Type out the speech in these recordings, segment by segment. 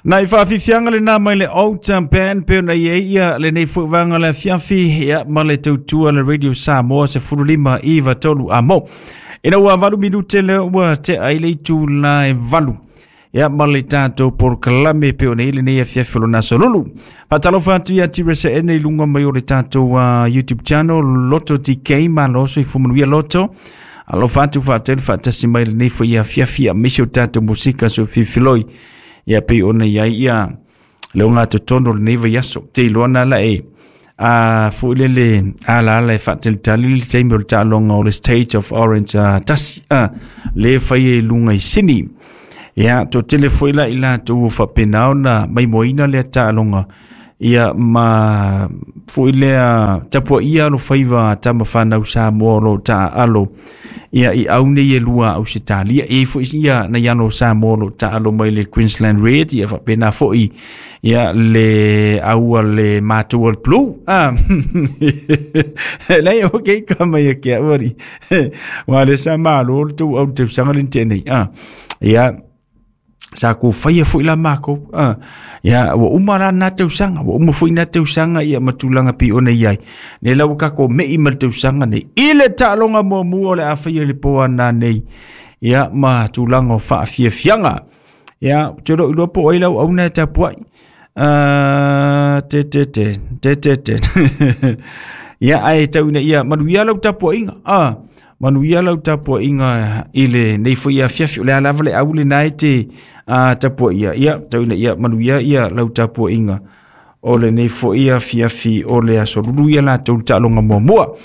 Nai faafiafiaga lenā mai le Old Band pe ona i ai ia lenei foi vaega o le afiafi ia ma le tautua le Radio Samoa 15 9 3 amo. Ina ua 8 minute lea ua tea ai le itula e 8 ia ma le tatou polokalame pe ona i lenei afiafi o lona aso lulu. Faatalofa atu ia Tiresa Ene i luga mai o le tatou YouTube channel Loto TK malo soifua manuia Loto. Alofa atu faatelu faatasi mai lenei foi afiafi aemaise o tatou musika soififiloi. Ia pei ona i ai ia le ogatotonu o lenei vaiaso. Te iloa na la e a foi lele alaala e faatalitali le taimi o le taaloga o le State of Orange tasi le fai e luga i Sini. Ia, toatele foi la i latou ua faapena ona maimoaina lea taaloga ia ma foi lea tapuaia alofaiva a tama fanau Samoa o lo o taaalo ia i au nei e lua a Ausetalia. E i ai foi ia nai alo o Samoa o lo o taaalo mai le Queensland Red ia faapena foi ia le au a le matou o le Blue. Ah. Lei o ke ka mai e ke au ari. Wa le sa malo le tou au le tausaga le tea nei. Ah. Ia sa ko faia foi la makou. Ah. Ia ua uma la na tausaga, ua uma foi na tausaga ia ma tulaga pei ona i ai. Ne la ua kako mei ma le tausaga nei. I le taaloga muamua o le a faia i le po ana nei. Ia ma tulaga o faafiafiaga. Ia, ou te lo iloa po o ai lau auna e tapuai. Te te te, te te te. Ia, ae tau ina ia manuia lau tapuaiga. Ah, manuia lau tapuaiga i lenei foi afiafi. O le a lava le au lena e te tapuaia. Ia, tau ina ia manuia ia lau tapuaiga o lenei foi afiafi o le aso lulu ia latou le taaloga muamua.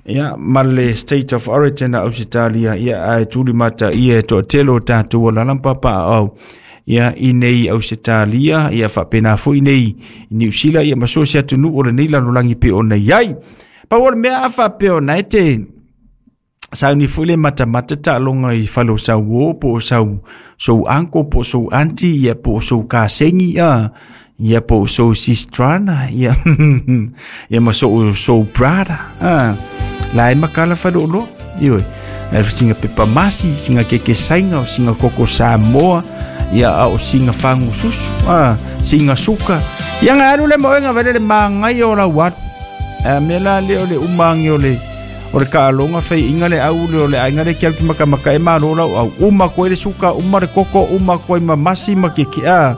Ia, ma le State of Origin a Ausetalia, ia, ae tuli mata ia e toatele o tatou alaala ma papaaao ia i nei Ausetalia, ia faapena foi nei i Niu Sila, ia ma so o se atunuu o lenei lalolagi pei ona i ai. Pau o le mea a faapea ona e te sauni foi le matamata taaloga i fale o sau uo po o sau sou uncle po o sou auntie ia po o sou kasengi ia ia po o sou sistrana ia ia ma sou sou brother la e makala fale o loa ioe e singa pepa masi singa keke sainga o singa koko Samoa ia a o singa fangu susu singa suka ia nga alu le moenga vele le mangai o lau atu a me la le o le umangi o le o le kaaloga faiʻiga le au le o le aiga le ke makamaka e malo lau au uma koe le suka uma le koko uma koe ma masi ma ke kea.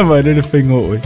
Vai le faiga oe.